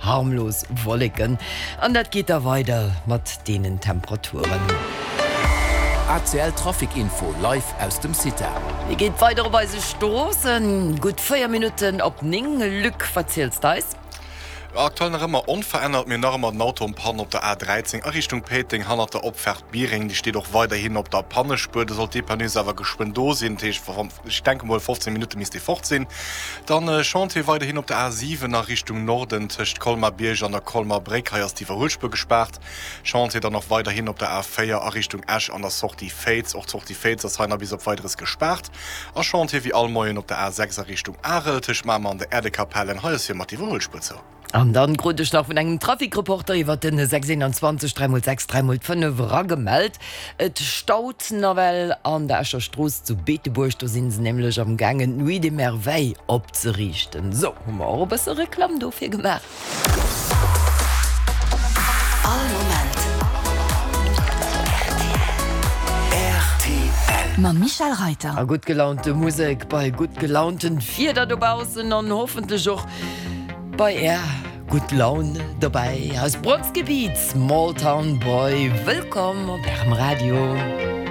Harmlos Wolleken an dat geet da weider mat deenen Temperaturen. ACL Trafic Info live aus dem CITA. Wéi geet weider op eise Stroossen? Gutt 4 Minutten op 9. Luc, wat ziels d'eis? Aktuell nach ëmmer onverännert, mir hunn nach ëmmer den Auto en Panne op der A13 a Richtung Péiteng hannert der Opfaart Biereng. Déi steet och weiderhin op der Pannespuer. Do sollt d'Dépanneuse awer geschwënn do sinn. Dat heescht, ech denke mol 15 Minutte misst dee fort sinn. Dann Chantier weiderhin op der A7 a Richtung Norden tëscht Colmar-Bierg an der Colmar Bréck. Hei ass d'Iwwerhuelspuer gespaart. Chantier dann och weiderhin op der A4 a Richtung Esch an der Sortie Féiz. Och d'Sortie Féiz ass hei nach bis op Weideres gespaart. A Chantier wéi all Moien op der A6 a Richtung Arel tëscht Mamer an der Äerdekapellen. Hei ass fir mat d'Iwwerhuelspuer zou. An dann krut ech nach vun engem Trafikreporter iwwert den 621 3 x 6 3 x 5 eragemellt, et staut nawell an der Escher Strooss zu Beetebuerg, do sinn se nämlech am gaangen d'Nuit des Merveilles opzeriichten. Sou, hu mer och e bësse Reklamm dofir gemaach. All Moment rtl. Mam Michel Reiter. A gutt gelaunte Musek bei gutt gelaunten Wieder dobaussen an hoffentlech och Bei är gutt Laun dobäi. Aus Bronski Beat, Small Town Boy. Wëllkomm op ärem Radio.